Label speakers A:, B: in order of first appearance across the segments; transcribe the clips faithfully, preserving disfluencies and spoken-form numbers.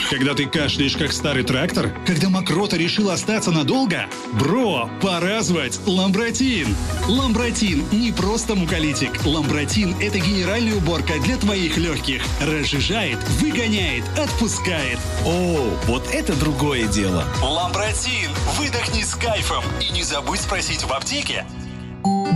A: Когда ты кашляешь, как старый трактор? Когда мокрота решила остаться надолго? Бро, пора звать Ламбратин! Ламбратин не просто муколитик. Ламбратин – это генеральная уборка для твоих легких. Разжижает, выгоняет, отпускает.
B: О, вот это другое дело!
A: Ламбратин! Выдохни с кайфом! И не забудь спросить в аптеке.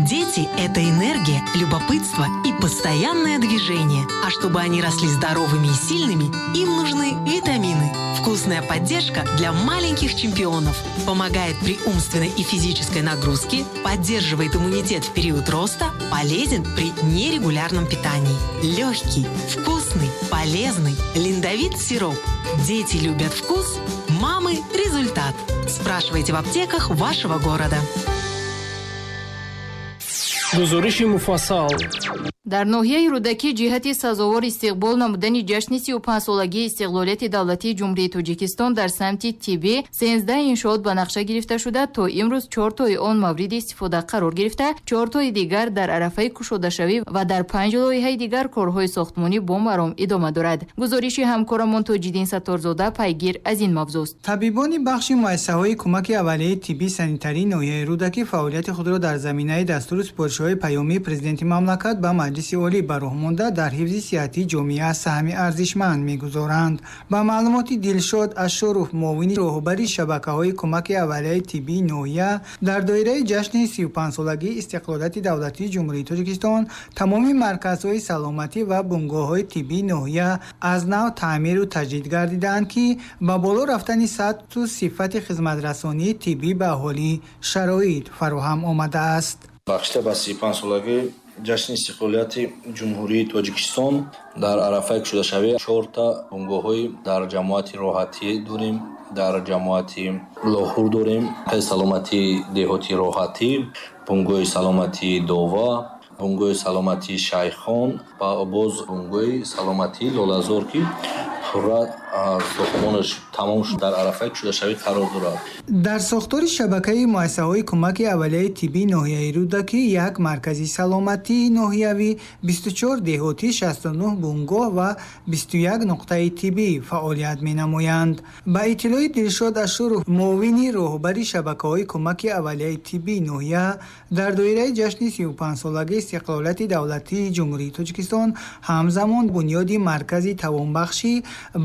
C: Дети – это энергия, любопытство и постоянное движение. А чтобы они росли здоровыми и сильными, им нужны витамины. Вкусная поддержка для маленьких чемпионов. Помогает при умственной и физической нагрузке, поддерживает иммунитет в период роста, полезен при нерегулярном питании. Легкий, вкусный, полезный Линдовит сироп. Дети любят вкус, мамы – результат. Спрашивайте в аптеках вашего города.
D: Гузориши муфассал.
E: Дар ноҳияи Рӯдакӣ ҷиҳати сазовор истиқбол намудани ҷашни сию панҷсолагии истиқлолияти давлатии Ҷумҳурии Тоҷикистон дар самти тиббӣ сенздаҳ иншоот ба нақша гирифта шуда, то имрӯз чортои он мавриди истифода қарор гирифта, чортои дигар дар арафаи кушодашавӣ ва дар панҷ лоиҳаи дигар корҳои сохтмонӣ бо маром идома дорад. Гузориши ҳамкорамон Тоҷиддин Сатторзода пайгир аз ин мавзӯст.
F: Табибони бахши муассисаҳои кӯмаки аввалияи тиббӣ санитарии ноҳияи Рӯдакӣ фаъолияти худро дар заминаи дастуру супоришҳои паёмии президенти мамлакат ба Маҷлиси Олӣ ба роҳ монда дар ҳифзи сиҳатии ҷомеа саҳми арзишманд мегузоранд. Ба маълумоти Дилшод Ашуров, муовини роҳбари шабакаҳои кӯмаки аввалияи тиббии ноҳия, дар доираи ҷашни сию панҷсолагии истиқлолияти давлатии Ҷумҳурии Тоҷикистон тамоми марказҳои саломатӣ ва бунгоҳҳои тиббии ноҳия аз нав таъмиру таҷдид гардидаанд, ки ба боло рафтани сатҳу сифати хизматрасонии тиббӣ ба аҳолӣ шароит фароҳам омадааст.
G: Бахшида ба сию панҷсолагии ҷашни истиқлолияти Ҷумҳурии Тоҷикистон дар арафаи кушодашавӣ чорта бунгоҳҳои дар ҷамоати Роҳатӣ дорем, дар ҷамоати Лоҳур дорем, саломатии деҳоти Роҳатӣ, бунгоҳи саломатии Дова, бунгоҳи саломатии Шайхон ва боз бунгоҳи саломатии Лолазор, ки пурра сохтмонаш тамом шуд, дар арафаи кушодашавӣ қарор дорад.
F: Дар сохтори шабакаи муассисаҳои кӯмаки аввалияи тиббии ноҳияи Рӯдакӣ як маркази саломатии ноҳиявӣ, бисту чор деҳотӣ, шасту нӯҳ бунгоҳ ва бисту як нуқтаи тиббӣ фаъолият менамоянд. Ба иттилои Дилшод Ашуров, муовини роҳбари шабакаҳои кӯмаки аввалияи тиббии ноҳия, дар доираи ҷашни сию панҷсолагии истиқлолияти давлатии Ҷумҳурии Тоҷикистон ҳамзамон бунёди маркази тавонбахшӣ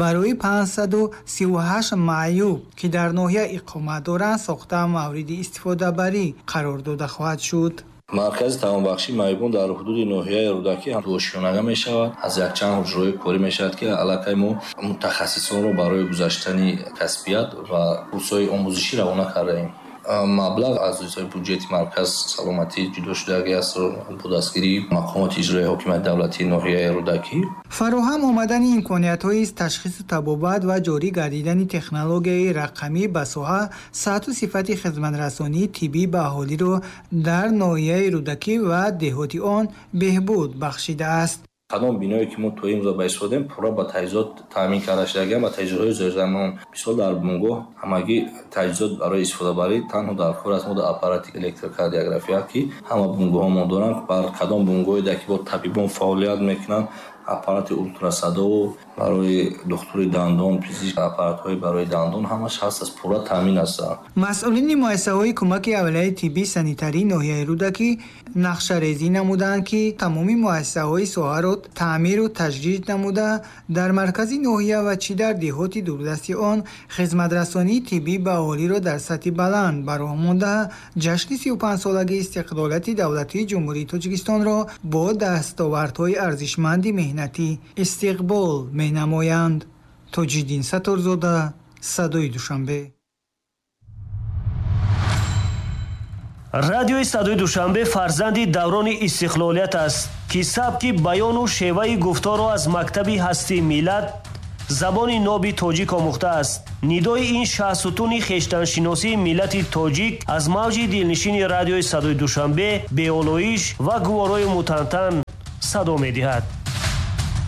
F: барои панҷсаду сию ҳашт маъюб, ки дар ноҳия иқомат доранд, сохта мавриди истифодабарӣ қарор дода хоҳад шуд.
G: Маркази тавонбахшии маъюбон дар ҳудуди ноҳияи Рӯдакӣ дуошёнага мешавад. Аз якчанд ҳуҷраҳои корӣ мешавад, ки аллакай мо мутахассисонро барои гузаштани касбият ва курсҳои омӯзишӣ равона кардаем. Маблағ аз ҳисоби буҷети марказ саломатӣ ҷудо шудагӣ аст бо дастгирии мақомоти иҷроияи ҳокимияти давлатии ноҳияи Рӯдакӣ.
F: Фароҳам омадани имкониятҳои ташхису табобат ва ҷорӣ гардидани технологияи рақамӣ ба соҳа сатҳу сифати хизматрасонии тиббӣ ба аҳолиро дар ноҳияи Рӯдакӣ ва деҳоти он беҳбуд бахшидааст.
G: Кадом биное ки мо то имрӯза ба истифодаем, пурра ба таҷҳизот таъмин карда шудагиам, ба таҷҳизотҳои зерзамон. Мисол, дар бунгоҳ ҳамагӣ таҷҳизот барои истифодабарӣ танҳо дар кор аст мо дар аппарати электрокардиография, ки ҳама бунгоҳҳо мо доранд. Бар кадом бунгоҳе ки бо табибон фаъолият мекунанд, аппарати ултрасадову барои духтури дандон, пизишк, аппаратҳои барои дандон ҳамаш ҳаст, аз пурра таъмин ҳастанд.
F: Масъулини муассисаҳои кӯмаки аввалияи тиббӣ санитарии ноҳияи Рӯдакӣ нақшарезӣ намуданд, ки тамоми муассисаҳои соҳаро таъмиру таҷдид намуда, дар маркази ноҳия ва чӣ дар деҳоти дурдасти он хизматрасонии тиббӣ ба аҳолиро дар сатҳи баланд ба роҳ монда, ҷашни сию панҷсолагии истиқлолияти давлатии Ҷумҳурии Тоҷикистонро бо дастовардҳои арзишманди меҳнатӣ истиқбол менамоянд. Тоҷиддин Сатторзода, Садои Душанбе.
H: Радиои Садои Душанбе фарзанди даврони истиқлолият аст, ки сабки баёну шеваи гуфторро аз мактаби ҳастии миллат, забони ноби тоҷик омӯхтааст. Нидои ин шаҳсутуни хештаншиносии миллати тоҷик аз мавҷи дилнишини радиои Садои Душанбе беолоиш ва гуворои мутантан садо медиҳад.